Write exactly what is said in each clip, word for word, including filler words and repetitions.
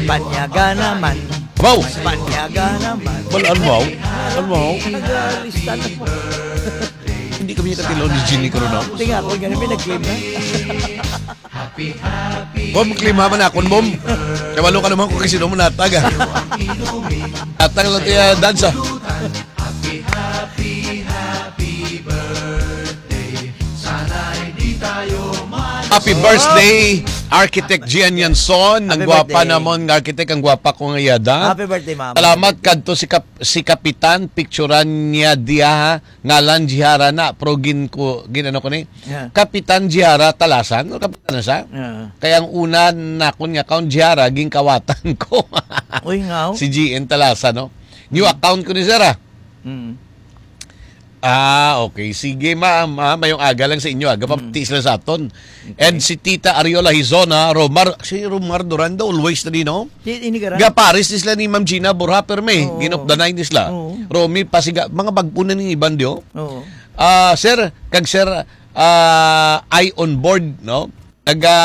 Panyaga naman. Wow! Panyaga naman. Wala, ano, wow? Ano, wow? Nagalista na po. Hindi kami nakatilaw ni Jeannie Coronao. Hindi nga, ako ganun, may nag-claim na. Bom, klima man akon, bom. Kabalo ka naman kung kasi mo natag, ah. Atang lang tiya dansa. Happy birthday, Architect Gian Yanson. Ang Happy gwapa birthday. Namon nga architect, ang gwapa ko nga yada. Happy birthday, ma'am. Salamat kadto si Kap-, si Kapitan, picturan niya diya, ha? Ngalan Jihara na, pero gin ko, gin ano ko ni? Yeah. Kapitan Jihara Talasan, o Kapitan na siya? Yeah. Kaya ang una nakon nga account, Jihara, ginkawatan ko. Uy, nga, oh. Si G N Talasan, no? New Mm. account ko ni sir, ah. Mm. Ah, okay. Sige, ma'am, ah, mayong aga lang sa inyo, ah. Gapamati Mm. sila sa aton. Okay. And si Tita Ariola Hizona, Romar, si Romar Durando, always na din, no? Di, ini ka rin? Gaparis ni sila ni Ma'am Gina Borja, perme. Oo. Gin-off the night ni sila. Oo. Romy Pasiga, mga bagpo na ning iban, di, oh. Oo. Ah, sir, kag sir, ah, ay on board, no? Naga,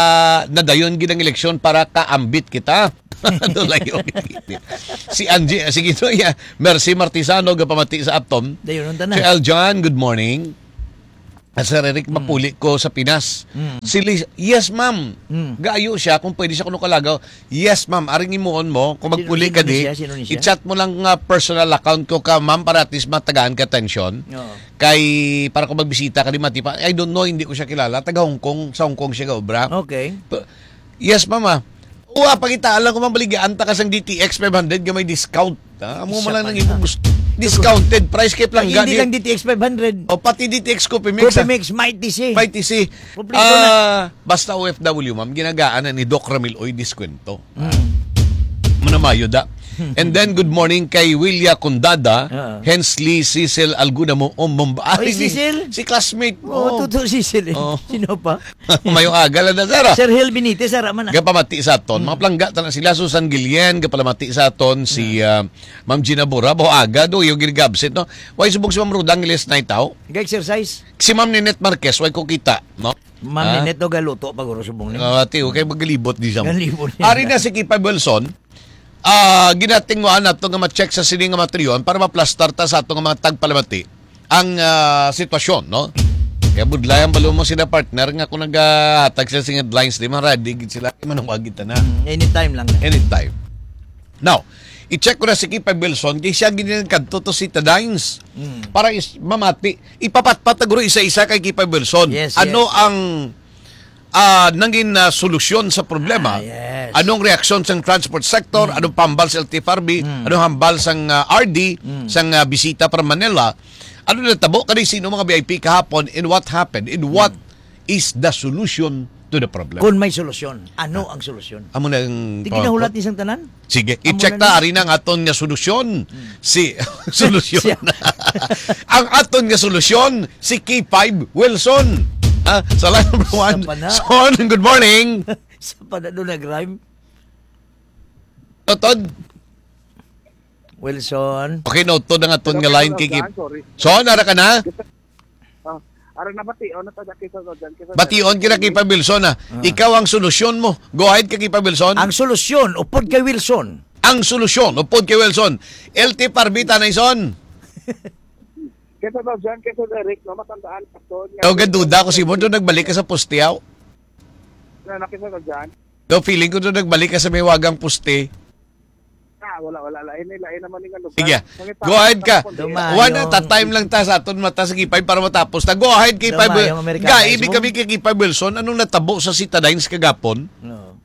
nadayon gid ang eleksyon para kaambit kita. Ano lang yung si Angie, ah, sige to, yeah. Mercy Martisano, gapamati sa aton. Dayon, unta na. Si Aljan, good morning. Ah, Sir Eric, Mm. mapuli ko sa Pinas. Mm. Si Liz, yes, ma'am. Mm. Gaayo siya kung pwede siya kuno kalagaw. Yes, ma'am. Aring imuon mo, kung Sino, magpuli sino ka ni di, siya? Sino ni siya? i-chat mo lang nga personal account ko ka, ma'am, para at least matagaan ka atensyon. Oo. Kay, para kung magbisita ka di matipa, I don't know, hindi ko siya kilala. Taga Hong Kong, sa Hong Kong siya gaobra. Okay. P-, yes, ma'am, ah. Oo, ah, pakitaan lang ko, ma'am, baligyan ta ka sang D T X five hundred nga may discount. Ah, amo Isa man lang pa nang na. imong gusto. Discounted price kay Ay, plangga hindi ni lang D T X five hundred. O, pati D T X Coffee Mix, Coffee ah. Mix, Mighty C. Mighty C. Kompleto na. Ah, basta O F W, ma'am, ginagaan na ni Doc Ramil Oy diskwento. Ah, Mm. manamayo da. And then, good morning kay Willia Condada, Oo. Hensley, Cecil Alguna mo, um, Mumba-, Oy, ay, si, Cecil? si classmate mo. Oo, totoo, Cecil, eh. Oo. Sino pa? Mayong aga lang na, sir, ah. Sir Hil Benitez, ara man, ah. Gapamati sa aton. Mm. Mga plangga, tana sila, Susan Guillen, gapalamati sa aton, si, Mm. ah, Ma'am Gina Bura, baho aga, do, yung ginigabsit, no? Why subog si Ma'am Ruda ang last night, tao? Nag-exercise. Si Ma'am Ninette Marquez, why ko kita, no? Ma'am Ah? Ninette, no, galuto pa, guro, subong ni. Ah, ati, okay, magalibot di siya. Galibot niya. Ari na si Kipay Wilson. Ah, ginatingwaan nato nga ma-check sa sini nga materiyon para maplastar ta sa ato nga mga tagpalamati ang, ah, sitwasyon, no? Kaya budlay ang balo mo sila, partner, nga kung nagahatag sila sing headlines, di man ready gid sila, manawag kita na. Mm, anytime lang. Anytime. Now, i-check ko na si Kipay Wilson, kay siya gid ang kadto to si Tadines. Mm. Para is, mamati, ipapatpat na guro isa-isa kay Kipay Wilson. Yes, Ano yes. ang, ah, nangin, ah, solusyon sa problema? Ah, yes. Anong reaksyon sang transport sector? Mm. Anong pambal sa L T F R B? Mm. Anong hambal sang, ah, R D, Mm. sang, ah, bisita para Manila? Ano natabo kani sino mga V I P kahapon? And what happened? And what Mm. is the solution to the problem? Kung may solusyon, ano Ah. ang solusyon? Amo na ang Di pangako. ginahulat ni sang tanan? Sige, Amo i-check na ta, ni. ari na ang aton nga solusyon. Hmm. Si, solusyon. Siya. Ang aton nga solusyon, si K five Wilson. Ah, sa line number Sa one. pana. Son, good morning. Sa pana doon nag-rhyme. Totod. Wilson. Okay, noted ang aton Pero nga line, kay Kip. Sorry. Son, ara ka na? Ah, ara na, bation na ta, Jack, kay Sir Rojan, kay Sir Bation Rojan. Kita, Kipay Wilson, ah. Ah. Ikaw ang solusyon mo. Go ahead, kay Kipay Wilson. Ang solusyon, upod kay Wilson. Ang solusyon, upod kay Wilson. L T F R B, Tanay Son. Kay Sir Rojan, kay Sir Eric, no, matandaan, Pastor, nga Oh, gaduda ko si mo, doon nagbalik ka sa poste, aw. Na, na, kay Sir Rojan. Do, feeling ko doon nagbalik ka sa may wagang poste. Ah, wala, wala. Lain, lain naman yung ano. Sige. Pangit-, Go ahead ka. Dumayo. One at a time lang ta sa aton mata sa Kipay para matapos ta. Go ahead, Kipay Dumayo, Wil-, Amerikano. Ga, ibig Mo? kami kay Kipay Wilson, anong natabo sa Citadines kagapon? No.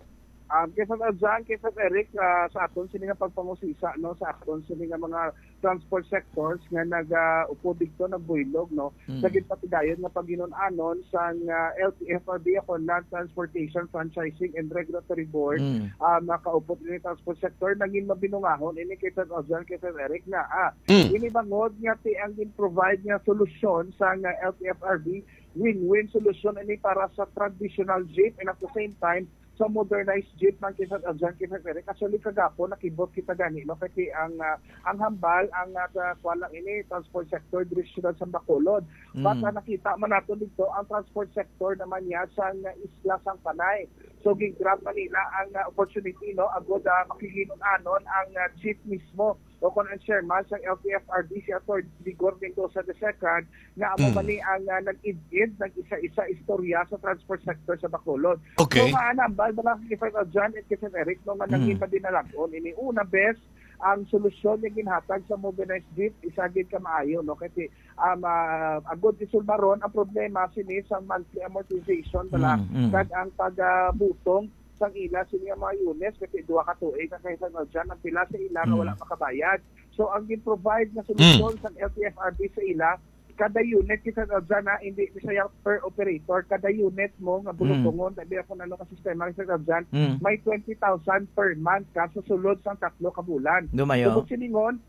Um, kay Sir Aljan, kay Sir Eric, ah, sa aton sini nga pagpangusisa, no, sa aton sini nga mga transport sectors nga nag, ah, upod dito, nagbuylog, no, Mm. sa ginpatigayon nga paghinun-anon sang, ah, L T F R B ako, Land Transportation Franchising and Regulatory Board, Mm. ah, makaupod ini transport sector, naging mabinungahon ini kay Sir Ojan, kay Sir Eric na, ah, Mm. ini bangod nga ti ang gin-provide nga solusyon sang, ah, L T F R B, win-win solusyon ini para sa traditional jeep and at the same time, sa modernized jeep man, K five Aljan, K five Eric. Actually, kagapon, nakibot kita gani, no? Kasi ang, ah, ang hambal, ang, ah, sa, kuwan lang ini, transport sector, diri sa siyudad sa Bacolod. But, Mm. ah, nakita man nato dito, ang transport sector naman niya sa, ah, isla sang Panay. So, gin-grab man nila ang, ah, opportunity, no? Agod, ah, makigin-anon ang, ah, jeep mismo. O kung ang chairman sa L T F R B, si Attorney Vigor Mendoza the second, nga amo Mm. man ni ang, ah, nag-id-id, nag-isa-isa istorya sa transport sector sa Bacolod. Okay. So, maanambal ba lang kay Sir John at kay Sir Eric, no, nga Mm. naging padinalagon ini? Una, best, ang solusyon nga ginhatag sa modernized jeep, isa gid ka maayo, no? Kasi, um, ah, agod isulbaron ang problema sini sa monthly amortization bala, Mm, mm. kag ang pagabutong sang ila sini nga mga units, kasi duha ka tuig na kay Sir John ang pila sa ila nga Mm. wala makabayad. So, ang gin-provide nga solusyon Mm. sang L T F R B sa ila, kada unit, kay Sir John, ha, hindi ni siya per operator, kada unit mo nga Mm. bulutungon, tabi ako na ano ka sistema, kay Sir John, Mm. may twenty thousand per month ka sa sulod sang tatlo ka bulan. Dumayo. Tubod silingon,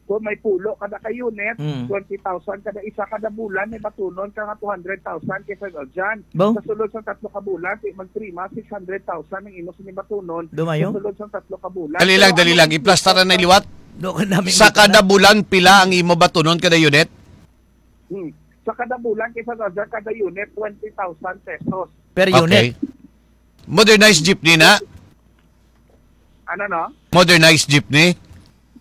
kung may pulo kada ka unit, Mm. twenty thousand kada isa, kada bulan may batunon ka nga two hundred thousand kay Sir John. Bo? Sa sulod sang tatlo ka bulan, di magprima, six hundred thousand ang imo sini batunon. Dumayo? Sa sulod sang tatlo ka bulan. Dali lang, Pero dali ang lang. Iplastar na liwat. Do ka namin Sa kita na. kada bulan, pila ang imo batunon kada unit? Hmm. Sa kada bulan, kay Sir John, kada unit, twenty thousand pesos. Per Okay. unit? Modernized jeepney na? Ano, no? Modernized jeepney?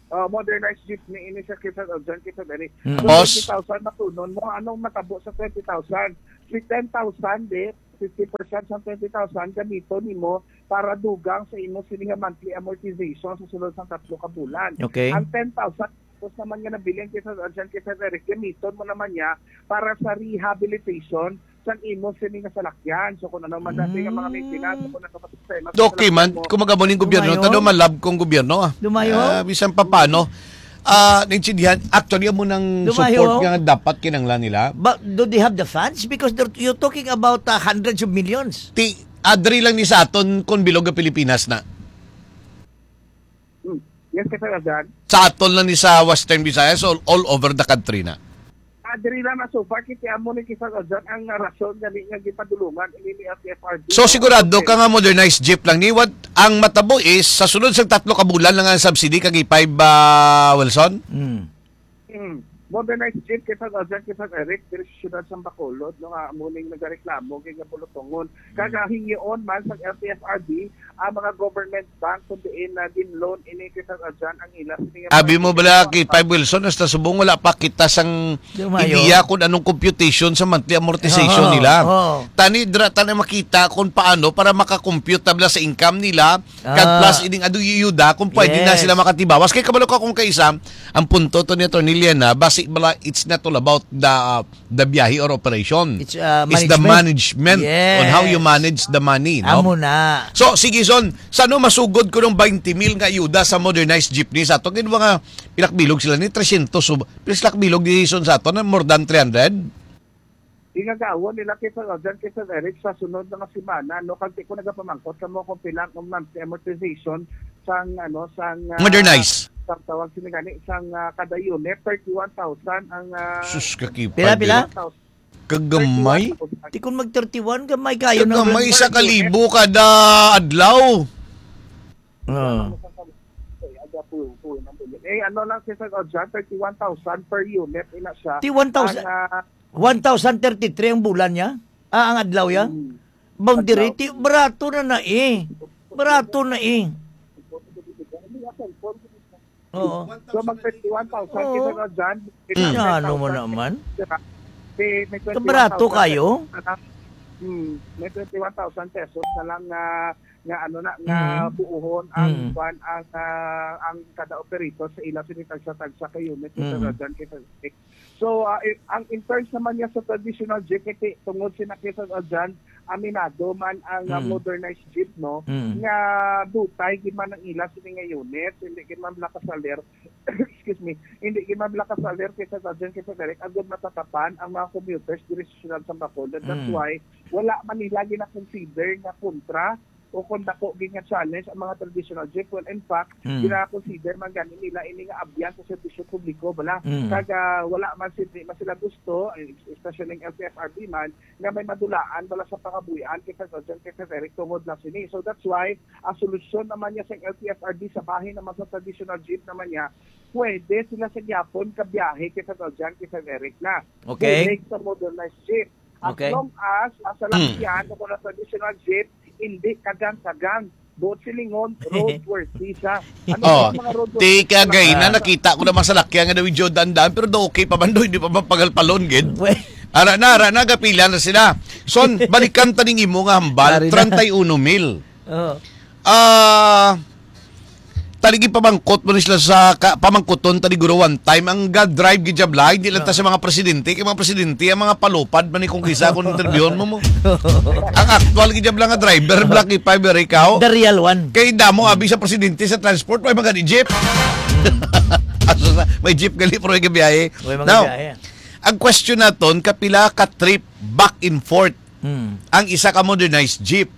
Oh, modernized jeepney ini siya, kay Sir John, kay Sir Eric. Mm. Tapos? Twenty thousand matunon mo, anong matabo sa twenty thousand? Si ten thousand, eh, fifty percent sa twenty thousand, gamiton nimo para dugang sa imo sini nga monthly amortization sa sulod sang tatlo ka bulan. Okay. Ang ten thousand, tapos naman nga nabilin kay Sir John, kay Sir Eric, gamiton mo naman niya para sa rehabilitation sang imo sini nga salakyan. So, kung ano man dati nga mga Mm. maintenance, kung ano pa sa sistema sa Okay man, salakyan mo. Kung mag-amo ning gobyerno, Dumayo. tado malab kong gobyerno, ah. Dumayo. Ah, bisan pa paano. Ah, naintindihan, actually, amo nang Dumayo. support nga dapat kinanglan nila. But do they have the funds? Because they're, you're talking about, uh, hundreds of millions. Ti, adri lang ni sa aton kung bilog nga Pilipinas na. Hmm. Yes, Sir John. Sa aton lang ni sa Western Visayas, all, all over the country na. Adri lang na so far, kiti amo ni kisa John ang rason gani nga gipadulungan ini ni L T F R B. So, sigurado ka nga modernized jeep lang ni? What ang matabo is, sa sulod sa tatlo ka bulan lang ang subsidy kag E five, ah, Wilson? Mm. Mm. Modernized jeep kay Sir John, kay Sir Eric, diri sa siyudad sa Bacolod, no, nga amo ning nagareklamo kay nga bulutungon. Kag, ah, hingion man sa L T F R B ang mga government bank kung diin na gin-loan ini kay Sir John ang ila sini nga Abi mga mo bala, K five Wilson, hasta subong wala pa kita sang Dumayo. ideya kung anong computation sa monthly amortization Oo, nila. oo. Tani, dira ta na makita kung paano para makakompute ta bala sa income nila, kag Ah. plus ining adu yuda kung pwede na Yes. sila makatibawas. Kay kabalo ka kung kaisa, ang punto to ni Attorney Liana, basi bala, it's not all about the, uh, the biyahe or operation. It's, uh, It's the management. management on how you Yes. manage the money, no? Amo na. So, sige, Son, sa ano masugod ko ng twenty mil nga ayuda sa modernized jeepney sa ato? Kaya mga pilak bilog sila ni trescientos, so, pilak bilog ni Son sa ato na more than three hundred? Ginagawon nila kay Sir Aljan, kay Sir Eric sa sunod na nga semana, no? Kag di ko nagapamangkot kamo kung pila ang monthly amortization sang, ano, sang, ah, Modernize. sang tawag sini gani, sang, ah, kada unit, thirty-one thousand ang, ah, Sus, kakipad Pila, pila? thirty-one thousand. Kagamay. Thirty-one thousand. Di kung mag thirty-one, gamay kayo na Kagamay lang sa per unit. kalibo kada adlaw. Ah. Eh, ano lang si Sir Aljan, thirty-one thousand per unit, ina siya. Di one thousand, Ang, ah, one thousand thirty-three ang bulan niya? Ah, ang adlaw ya? Hmm. Boundary, Adlaw. ti-, barato na na eh. Barato na eh. Oo. So, mag thirty-one thousand Oo. kita na dyan. May Hmm. Ano mo ten thousand naman? May, may Kabarato twenty-one thousand kayo? pesos na lang. Hmm. May twenty-one thousand pesos na lang nga, nga ano na, nga Mm. buuhon ang Mm. kwan, ang, ah, ang kada operator sa ila sini tagsa-tagsa ka unit, Mm. kita na dyan, kita So, ah, i-, ang in terms naman niya sa traditional jeep, kay tungod sina Quezon Aljan, aminado man ang, ah, Mm. modernized jeep, no? Mm. Nga dutay gid man ang ila sini nga unit, hindi gid man bala kasalir, excuse me, hindi gid man bala kasalir kay Sir Aljan, kay Sir Eric, agud matatapan ang mga commuters diri sa siyudad sa Bacolod. That's Mm. why wala man nila gina-consider nga kontra o kung dako gid nga challenge ang mga traditional jeep, well, in fact, Mm. gina-consider man gani nila ini nga abyan sa serbisyo publiko, bala. Mm. Kag, ah, wala man si-, di man sila gusto, eh, especially ang L T F R B man, nga may madulaan bala sa pangabuhian kay Fred Aljan, kay Fred Eric tungod lang sini. So that's why ang solusyon naman niya sa L T F R B sa bahin naman sa traditional jeep naman niya, pwede sila sa gyapon kabiyahe kay Fred Aljan, kay Fred Eric na. Okay. Direct sa modernized jeep. As Okay. long as ang salakyan o kung ang traditional jeep, hindi kagang-kagang. Buot silingon, roadworthy siya. Ano Oh, ang mga roadworthy ti na kagay na salakyan? Nakita ko na masalakyan nga daw yung Jordan daan, pero daw okay pa man daw, hindi pa man pagalpalon, gid. Uy. Ara na, ara na, gapila na sila. Son, balikan ta ning imo nga hambal, Ari na. treinta y uno mil. Oh. Ah, taligi pamangkot mo ni sila sa ka, pamangkuton ta ni guro one time ang ga-drive gid jab lain, di lang ta Oh. sa mga presidente, kay mga presidente ang mga palupad man ni kung kisa kung interviewon mo mo. Ang actual gid jab lang nga driver, Black Ipa, very ikaw. The real one. Kay damo abi sa presidente sa transport, may mga di jeep. Aso sa, may jeep gali pero may gabiyahe. May mga Now, gabiyahe. Ang question naton, kapila ka trip back and forth Hmm. ang isa ka modernized jeep?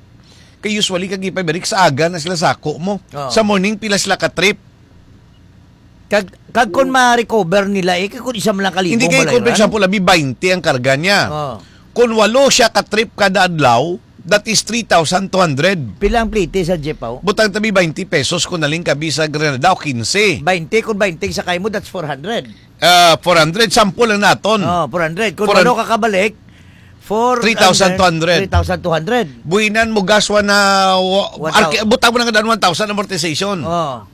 Kay usually, kag ipabirik sa aga na sila sako mo. Oo. Sa morning, pila sila ka trip? Kag, kag kung ma-recover nila, eh, kay kung isa man lang kalibong Hindi kay, balay kung for ran. example, abi twenty ang karga niya. Oo. Kung walo siya ka trip kada adlaw, that is three thousand two hundred. Pila ang plite sa jeep, aw? Butang tabi twenty pesos kung naling kabi sa Granada o quince. Twenty, kung twenty sa kay mo, that's four hundred. Ah, four hundred, sample lang naton. Oh, four hundred. Kung Four hundred. walo ka kabalik, four hundred, Three thousand two hundred. three thousand two hundred. Buhinan mo gas one na, wa-, One thou- arki-, butang mo na nga daan one thousand amortization. Oh.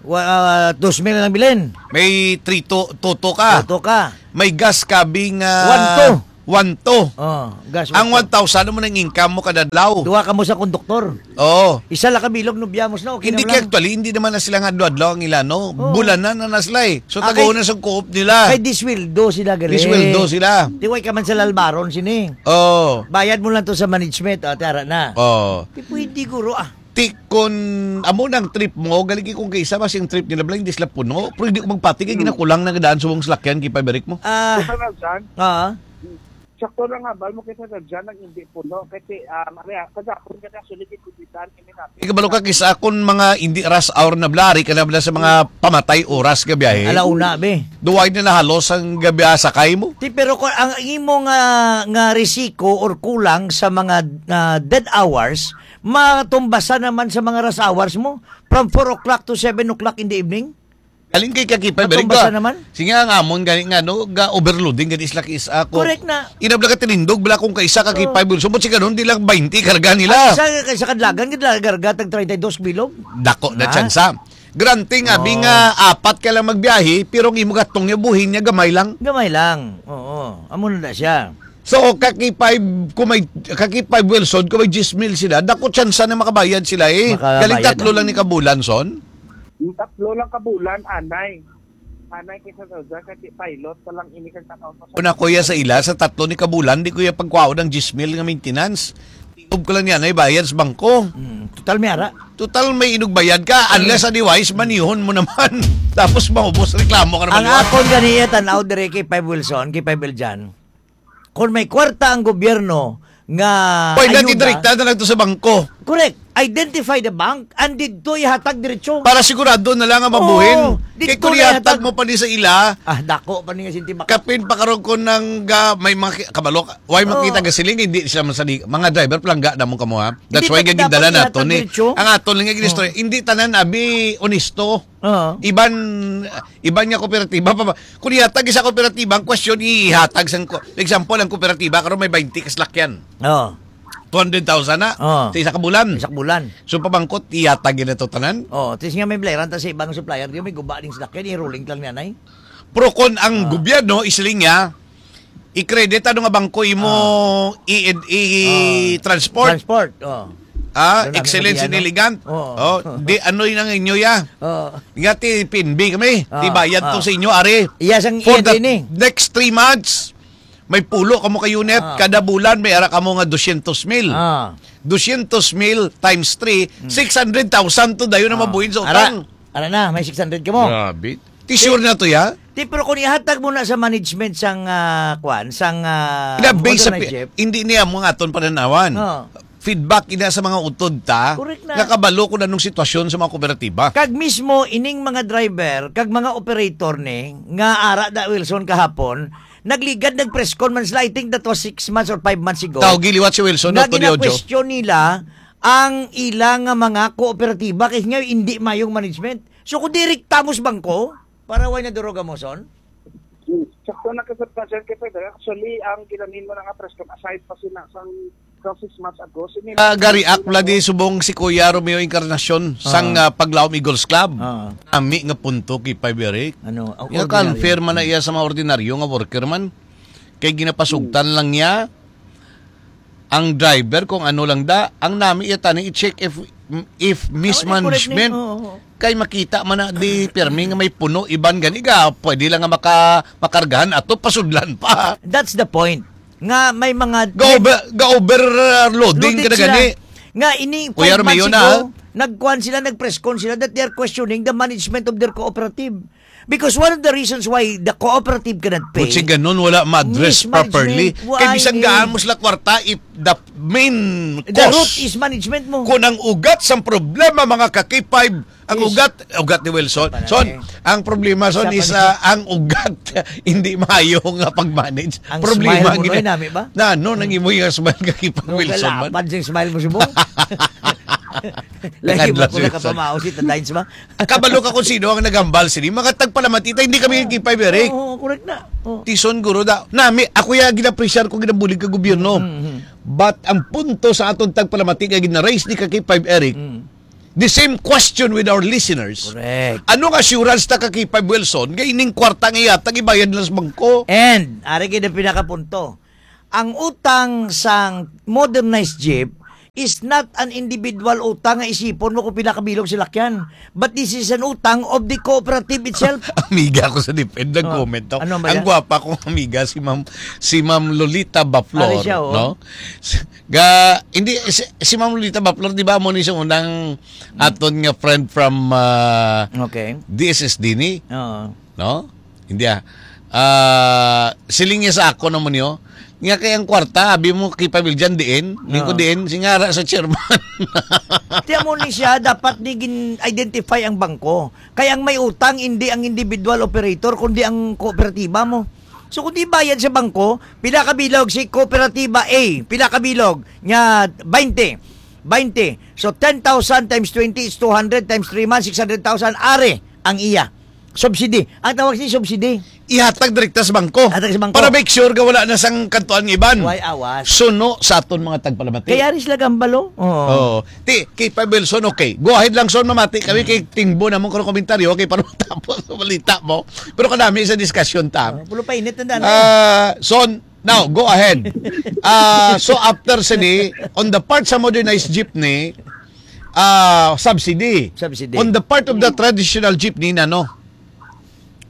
Wa-, ah, dos mil ang bilin. May three to, toto ka. Toto ka. May gas ka bing, ah, One to. one to. Oh, gas Ang one to. one thousand mo nang income mo kada adlaw. Duha ka mo sa konduktor. Oo. Isa lang ka bilog, nubyamos na, okay Hindi na kay lang. actually, hindi naman na sila nga adlaw-adlaw ang ila, no? Oo. Bulanan na na sila eh. So, Ah, tagaw kay na sa co-op nila. Kay disweldo sila, gali. Disweldo sila. Di way ka man sa lalbaron sini. Oo. Bayad mo lang to sa management, ah, tara na. Oo. Di pwede, guro, ah. Ti, kun amo nang trip mo, galing kung kay isa ba sing trip nila, bala, hindi sila puno. Pero hindi ko magpati kay Hmm. ginakulang na nga daan sa mong salakyan, kay pabirik mo. Ah. Sa San Jose, Ah. sakto lang nga, bal mo kay sa San Jose, nang hindi puno. Kasi, ah, mamaya, kagapon ka na, sulit yung kubitan, kami natin. Ikabalo ka, kisa akon mga hindi rush hour na bala, ari ka na bala sa mga pamatay oras nga biyahe. Ala una, be. Duway na nahalos ang gabi, ah, sakay mo. Ti, pero kung ang imo nga, nga risiko or kulang sa mga, ah, dead hours, matumbasan naman sa mga rush hours mo, from four o'clock to seven o'clock in the evening. Alin kay kakipay, very Matumbasan good. naman. Sige, ang amon gani nga, no, ga overloading gani sila kis ako. Correct na. Inabla ka tinindog, bala kung kaisa ka Oo. kipay, bulso mo, si ganun, di lang twenty karga nila. Ay, sa, sa kadlagan, gid la-, garga tag treinta y dos bilog. Dako na Ha? tsansa. Granting, abi Oo. nga, apat ka lang magbiyahe, pero ang imo gatong niya, buhin niya, gamay lang. Gamay lang. Oo. Amo na na siya. So, kakipay, kung may, kakipay Wilson, kung may diyes mil sila, dako tsansa na makabayad sila eh. Makabayad Galing tatlo na. lang ni kabulan, son. Yung tatlo lang kabulan, anay. Anay kay sa Saudi, kasi pilot pa lang ini kag tanaw pa sa Una, kuya, sa ila, sa tatlo ni kabulan, di kuya pagkwaon ang diyes mil nga maintenance. Tiob ko lang niya, na bayad sa bangko. Mm, total may ara. Total may inugbayad ka, Mm. unless otherwise, manihon mo naman. Tapos maubos, reklamo ka naman. Ang akon ganiya, tanaw dire kay Five Wilson, kay Five Eljan. Kung may kwarta ang gobyerno nga Pwede ayuda, direkta na lang to sa bangko. Correct. Identify the bank and didto ihatag diretso. Para sigurado na lang nga mabuhin. Oo, Kay didto kung na ihatag ihatag. mo pa ni sa ila, Ah, dako pa ni nga sinti baka. kapin pa karon ko nang ga-, may mga ki-, kabalo ka, why Oo. makita gasiling, hindi sila masali. Mga driver, palangga na mo kamo, ha? That's Hindi why pa, gagidala dapat ihatag nato ni. diretso. Ang aton lang nga ginistorya, Oo. hindi tanan abi honesto. Oo. Iban, iban nga kooperatiba pa ba? Kung ihatag sa kooperatiba, ang question ihatag sang ko-, example, ang kooperatiba karon may twenty ka salakyan. Oo. Two hundred thousand na Oo. sa isa ka bulan. Isa ka bulan. So, pabangkot, ihatag yun ito tanan? Oo. Tis nga may blaran ta sa ibang supplier, di may guba ding salakyan, i-rolling lang niya, nay. Pero kung ang Oo. gobyerno, isiling niya, i-credit ano nga bangko imo Oo. i-, i-, Oo. transport. Transport, oo. Ah, Doon namin excellence in mabiyano. elegant. Oo. Oh, di ano yun ang inyo ya? Oo. Nga ti P N B kami. Ah, Di bayad to ah. sa inyo, are. Iya sang For iya the din eh. next three months, may pulo kamo ka unit. Ah. Kada bulan, may ara kamo nga dosyentos mil. Ah. Dosyentos mil times three, Hmm. six hundred thousand to dayo na Ah. mabuhin sa Ara, utang. ara na, may six hundred ka mo. Grabe. Ti sure na to, ya? Ti, pero kung ihatag mo na sa management sang, ah, kwan, sang, ah, Grabe sa modernized pi-, jeep. hindi niya mo nga aton pananawan. Oo. feedback ina sa mga utod ta, Correct na. nga kabalo kung anong sitwasyon sa mga kooperatiba. Kag mismo ining mga driver, kag mga operator ni, nga ara da, Wilson, kahapon, nagligad, nag-press con man sila, I think that was six months or five months ago. Tawgi liwat si Wilson, Nga no, Tony Ojo. gina-question nila ang ila nga mga kooperatiba kay nga hindi mayong management. So, kung direkta mo sa bangko, para way na duroga mo, son? Hmm. Sakto na ka, Sir President, kay Pedro. Actually, ang ginanin mo na nga press con, aside pa sila sang, sang six months ago, sini Ah, gari, ak, wala di subong si Kuya Romeo Encarnacion sang, Ah. ah, Paglaom Eagles Club. Ah. Ami nga punto kay Five Eric. Ano, ang Nga ordinaryo. confirm man na iya sa mga ordinaryo nga worker man. Kay ginapasugtan Hmm. lang niya ang driver kung ano lang da. Ang nami iya tani i-check if, if Oh, di correct ni. mismanagement. Oo, oo. Kay makita man na di pirmi nga may puno, iban gani ga, pwede lang nga maka-, makargahan ato, pasudlan pa. That's the point. Nga may mga Ga-over-, ga-overloading Loaded ka na sila. gani. Nga ini Kuya five months Romeo na, ago, ah. nagkuhan sila, nag-press con sila that they are questioning the management of their cooperative. Because one of the reasons why the cooperative cannot pay Kung si ganun, wala ma-address mismanagement, properly. why Kay bisan ni- gaan mo sila kwarta, if the main The cause root is management mo. Kung ang ugat sang problema, mga ka-K five, Ang Yes. ugat, ugat ni Wilson. Sa panahon Son, eh. ang problema, Son, Sa is, panahon. ah, ang ugat, hindi maayo nga pag-manage. Ang Problema, smile mo, gina-, Noy, nami ba? Na, no, nang Hmm. imo yung smile ka kay No, Wilson, man. galapad sing smile mo, subong. Lagi Nakadlas mo ko Wilson. nakapamaos, si Tadines ba? Kabalo ka kung sino ang naghambal sini. Mga tagpalamati ta, hindi kami Oo. kay Five Eric. Oo, correct na. Oo. Tison, guro, da, nami, ako ya ginapresyar ko, ginabulig ka gobyerno. Mm, mm. But ang punto sa aton tagpalamati nga gina-raise ni ka kay Five Eric, Mm. the same question with our listeners. Correct. Anong assurance ta ka kay Five Wilson nga ining kwarta nga yatag ibayad lang sa bangko? And, ari gid ang pinakapunto. Ang utang sang modernized jeep is not an individual utang nga isipon mo kung pila ka bilog silakyan. But this is an utang of the cooperative itself. Amiga ko sa DepEd, Oh, nag-comment to. ano ba Ang yan? gwapa kong amiga, si Ma'am, si Ma'am Lolita Baflor, Ari siya, oh. no? Ga, hindi, si, si Ma'am Lolita Baflor, di ba, mo ni sa unang aton nga friend from, ah, Okay. D S S D ni? Oo. No? Hindi, ah. Ah, siling niya sa ako naman niyo, nga kay ang kwarta, abi mo kay Pabiljan diin, lingkod Oo. diin, singara sa chairman. Tiyan mo ni siya, dapat di gin-identify ang bangko. Kay ang may utang, hindi ang individual operator, kundi ang kooperatiba mo. So, kung di bayad sa bangko, pila ka bilog si kooperatiba A? Pila ka bilog? Nya, twenty. Twenty. So, ten thousand times twenty is two hundred times three months, six hundred thousand. Ari, ang iya. Subsidy. Ang tawag siya subsidy. Ihatag direkta sa bangko. Hatag sa bangko. Para make sure nga wala na sang kantuan nga iban. Way awas. Suno sa aton mga tagpalamati. Kaya rin sila gambalo. Oo. Oo. Ti, kay Five Wilson, okay. Go ahead lang, Son, mamati kami Mm. kay tingbo namon karong komentaryo, okay, para matapos ang balita mo. Pero kanami sa discussion ta. Oh, pulo pa init na daan, eh. Ah, Son, now, go ahead. Ah, so after sini, on the part sa modernized jeepney, ah, subsidy. Subsidy. On the part of the Mm. traditional jeepney, nano?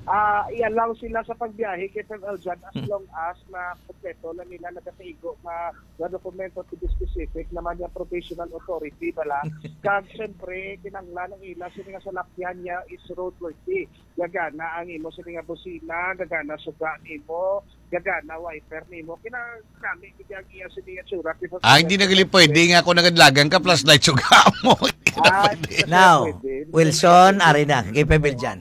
Ah, i-allow sila sa pagbiyahe kay Sir Eljan as Hmm. long as makompleto lang nila, nagakaigo, ma-, nga dokumento, to be specific naman yung provisional authority, bala. Kag, siyempre, kinahanglan ang ila sini nga salakyan niya is roadworthy. Gagana ang imo sini nga busina, gagana suga nimo, gagana wiper nimo. Kinahanglan gid ang iya sini nga tsura. Ah, hindi na gali pwede nga ako nagadlagan ka, flashlight suga mo. Hindi na Ah, pwede. hindi na Now, pwede. Hindi na Wilson, pwede. ari na, kay Pebel dyan.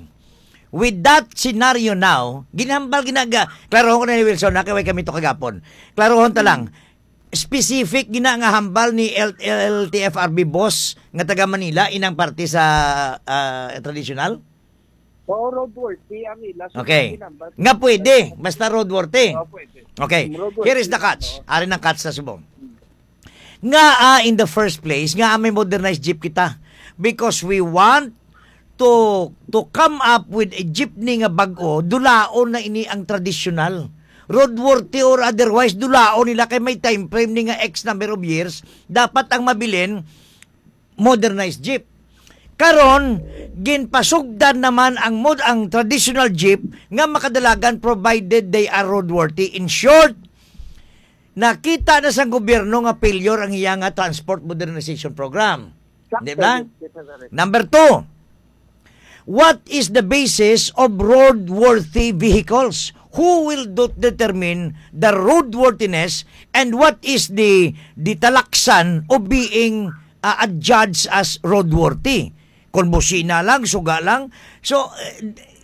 With that scenario now, ginhambal ginaga, klarohon ko na ni Wilson, na kay way kami to kagapon. Klarohon ta lang, Hmm. specific gina nga hambal ni L-, L T F R B boss nga taga Manila, inang parte sa, ah, traditional? Oo, roadworthy ang ila. So, Okay. ginhambal. Nga pwede, basta roadworthy. Oo, pwede. Okay. Roadworthy. Here is the catch. Oo. Ari ng catch sa subong. Nga, ah, in the first place, nga may modernized jeep kita. Because we want to, to come up with a jeepney nga bag-o, dulaon na ini ang traditional. Roadworthy or otherwise, dulaon nila kay may time frame ni nga X number of years. Dapat ang mabilin, modernized jeep. Karon, ginpasugdan naman ang mod-, ang traditional jeep nga makadalagan provided they are roadworthy. In short, nakita na sang gobyerno nga failure ang iya nga transport modernization program. Sakto Di ba? yun, Secretary. Number two, what is the basis of roadworthy vehicles? who will do, determine the roadworthiness and what is the, the talaksan of being, uh, adjudged as roadworthy? Kung busina lang, suga lang. So, uh,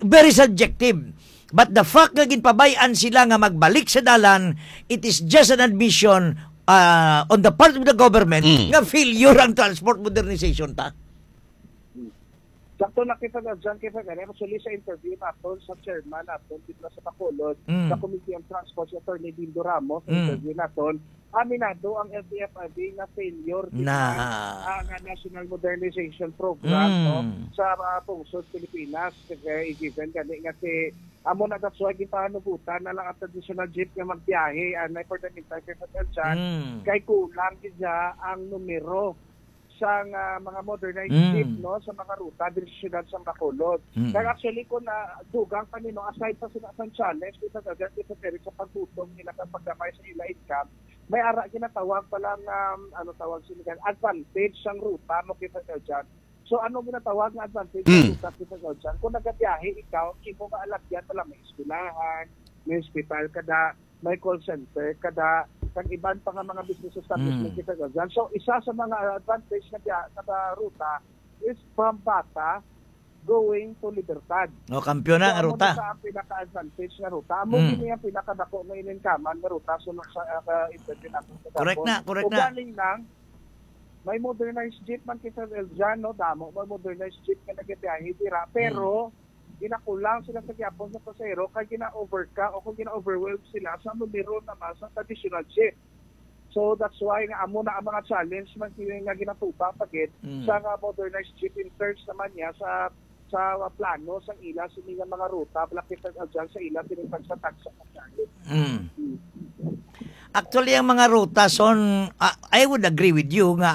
very subjective. But the fact nga ginpabayan sila nga magbalik sa dalan, it is just an admission, uh, on the part of the government Mm. nga failure ang transport modernization ta. Sakto na kita na dyan, kita gani. Actually, sa interview naton sa chairman naton dito sa Bacolod, Mm. sa Committee on Transport, si Attorney Dindo Ramos, sa Mm. interview naton, aminado ang L T F R B nga failure din Na. ang, ah, National Modernization Program, Mm. no, sa, ah, pungsod Pilipinas. Kaya given gani nga si, amo na, that's why gipahanugutan na lang ang traditional jeep nga magbiyahe, ah, na for the meantime, kay Fred Eljan, Mm. kay kulang gid siya ang numero sang, ah, mga modernized Mm. jeep, no, sa mga ruta diri sa siyudad sang Bacolod. Mm. Kaya actually, kung, ah, dugang pa nino, aside pa sila sa challenge, kita sa dyan, kita diri sa pagtutom nila kag paggamay sa ila income, may ara ginatawag pa lang, um, ano tawag sila dyan, advantage sang ruta mo kita sa dyan. So, ano ginatawag nga advantage sa Mm. ruta kita sa dyan? Kung nagabiyahe ikaw, imo nga alagyan pala may eskwelahan, may hospital kada, may call center kada, kag iban pa nga mga business establishment Mm. kita sa dyan. So, isa sa mga advantage na biya-, na ruta is from Bata going to Libertad. O, kampiyon na So, nga amo ruta. na sa ang pinaka-advantage nga ruta. Amo Mm. gini ang pinakadako nga ininkaman nga ruta sunod sa, ah, ka-, interview natin sa Correct Gabon. na, correct O na. galing lang, may modernized jeep man kita, Eljan, no? Damo, may modernized jeep nga nagabiyahe dira. Pero, Mm. ginakulang sila sa gihapon sa pasahero, kay gina-overcome o kung gina-overwhelm sila sa numero naman sa traditional jeep. So, that's why nga amo na ang mga challenge man kini nga ginatubang pa gid Mm. sa nga modernized jeep in terms naman niya sa, sa plano sang ila sini nga mga ruta, malapit na dyan sa ila sini tagsa-tagsa ka challenge. Mm. Mm. Actually, ang mga ruta, son, ah, I would agree with you nga